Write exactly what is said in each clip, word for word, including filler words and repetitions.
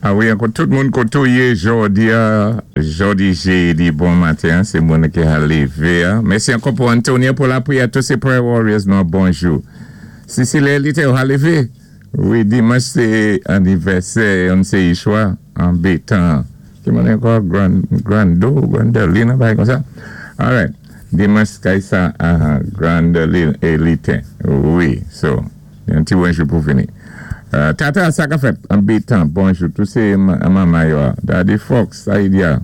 A wi, ankò tout moun koté ou yé jòdi-a, jòdi jédi, bon maten, sé moun ki a lévé. Mèsi ankò pou Antonia pou lapriyè, tout sé prayer warriors, nou bonjou. Cécile Elite, ou a lévé? Wi, dimanch sé anivèsè, on sé Ishwa, an bétan. Ki moun ankò? Grand, Grando, Grandelina, bagay kon sa? Alright. Dimanch kay sa, uh, Grandelina Elite. Wi, so, yon ti bonjou pou vini. Uh, tata, sa ka fèt, an bétan, bonjou, tout sé manman yo, Daddy Fox, Saïdia,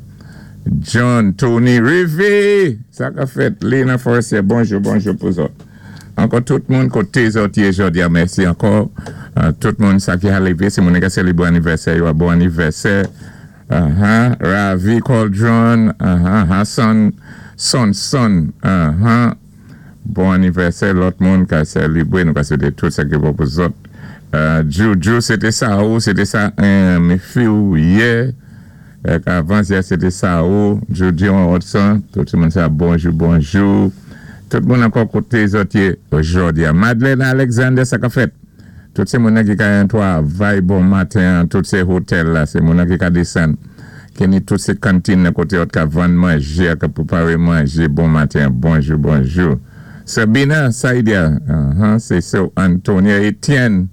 John, Tony, Rivi, sa ka fèt, Lena Forestier, bonjou, bonjou pou zòt. Ankò tout moun koté zòt yé jòdi-a, mèsi ankò, uh, tout moun sa ki a lévé, sé moun ki sélébré anivèsè, yo a bon anivèsè, uh-huh, Ravi Cauldron, uh-huh, Hassan, Son Son, uh-huh, bon anivèsè, lòt moun ka sélébré, nou ka swété tout sa ki bon pou zòt. Uh, Juju, sété sa ou, sété sa, mi fi ou yè, avan yè, sété sa ou, Juju an Hudson, tout moun sa bonjou, bonjou, tout moun ankò koté zòt yé jòdi-a. Madeleine Alexander, sa ka fèt, tout sé moun ki ka yon twavay bon maten, tout sé hotel la, sé moun ki ka désann, ki ni tout sé kantin koté zòt ka vann manjé, ka pwéparé manjé, bon maten, bonjou, bonjou. Sabina Saïdia, uh-huh, sé so Antonia Etienne,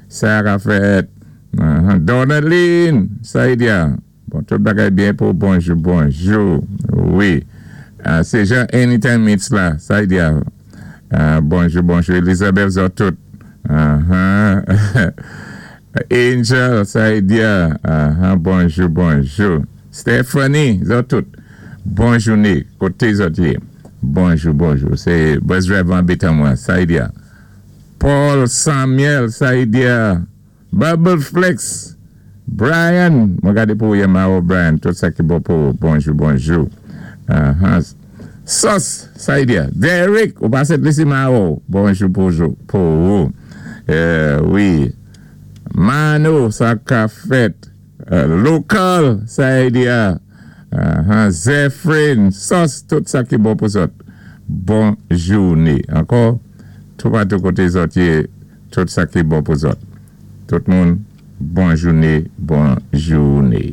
sa ka fèt, uh-huh, Donaline Saïdia, bon, tout bagay byen pou bonjou, bonjou, wi. Uh, sé Jean Anytime Meets la, Saïdia, uh, bonjou, bonjou, Elizabeth zòt tout, uh-huh. Angel, Saïdia, uh-huh, bonjou, bonjou, Stephanie, zòt tout, bon jouné, koté zòt yé, bonjou, bonjou, sé bus driver an bétan mwen, Saïdia, Paul Samuel, Saïdia, Bubble Flex, Brian, mwen gadé pou yé ma Brian, tout sa ki bon pou, bonjou, bonjou. Uh-huh. Sos, Saïdia, Derek, ou pa set lisi ma ou, bonjou, bonjou, pou ou. Euh, wi. Mano, sa ka fèt. Uh, local, Saïdia. Uh-huh. Zephyrin, sos, tout sa ki bon pou zòt. Bon jouné. Ankò, tout patou koté zòt yé, tout sa ki bon pou zòt. Tout moun, bon jouné, bon jouné.